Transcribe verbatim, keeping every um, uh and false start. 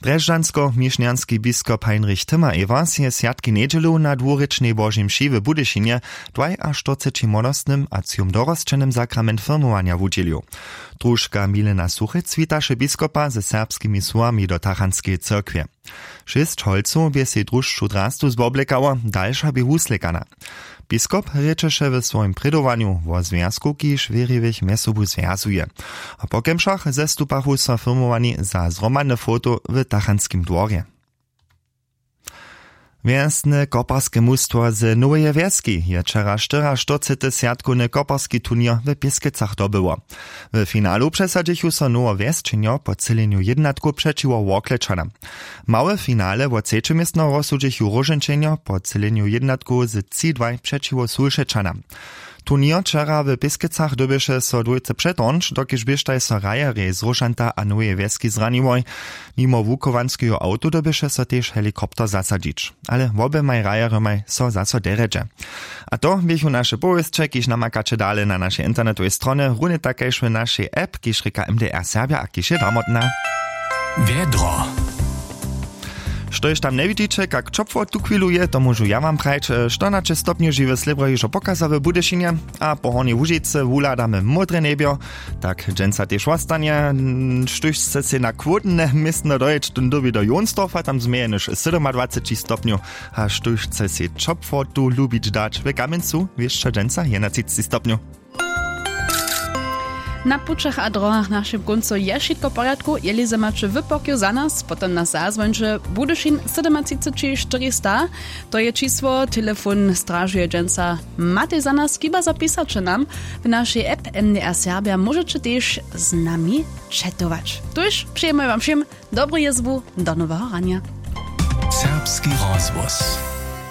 Drježdźansko-mišnjanski biskop Heinrich Timmer-Ewers je swjatki njedźelu na dwurěčnej Božej mši w Budyšinje dwajaštyrceći młodostnym a třijom dorosćenym sakrament firmowanja wudźělił. Družka Milena Suchec witaše biskopa ze serbskimi słowami do tachantskeje cyrkwje. Šěsć holcow bě sej družšu drastu zwoblekało, dalša bě wuslěkana. Biskop rěčeše w swojim prědowanju wo zwjazku, kiž wěriwych mjez sobu zwjazuje. A po kemšach zestupachu so firmowani za zhromadne foto w tachantskim dworje. Wjesne koparske mustwo z Noweje Wjeski je wčera štyriaštyrcety swjatkowny koparski turněr w Pěskecach dobyło. W finalu přesadźichu so Nowowjesčenjo po třělenju jědnatkow přećiwo Workletčanam. Małe finale wo třeće městno rozsudźichu Róžeńčenjo po třělenju jědnatkow z tři dwaj přećiwo Sulšećanam. Turněr wčera w Pěskecach dyrbješe so dwójce přetornć, dokelž běštaj so hrajerjej z Róšanta a Noweje Wjeski zraniłoj. Nimo wuchowanskeho awto dyrbješe so tež helikopter zasadźić. Ale woběmaj hrajerjomaj so zaso derjedźe. A to běchu naše powěsće, kiž namakaće dale na našej internetowej stronje, runje tak kaž w našej app, kiž rěka M D R Serbja a kiž je damotna. Wjedro. Štož tam njewidźiće, kak ćopło tuchwilu je, to móžu ja wam prajć. Štonaće stopnjow žiwy slěbro hižo pokaza w Budyšinje a po Hornjej Łužicy wuhladamy módre njebjo. Tak dźensa tež wostanje. Štóž chce sej na chłódne městno dojěć, tón dyrbi do Jonsdorfa, tam změje jenož sydomadwaceći stopnjow. A štóž chce sej ćopłotu lubić dać, w Kamjencu wěsća dźensa jedenatřiceći stopnjow. Na pućach a drohach našim kóncu je wšitko w porjadku. Jeli ze maće wypokju za nas, potom nas zazwońće. Budyšin sydomatřiceći štyristo, to je čisło. Telefon stražuje dźensa. Matej za nas, chiba zapisaće nam. W našej app M D R Serbja móžeće tež z nami četować. Tuž přejemy wam wšěm dobru jězbu, do noweho ranja. Serbski rozhłos.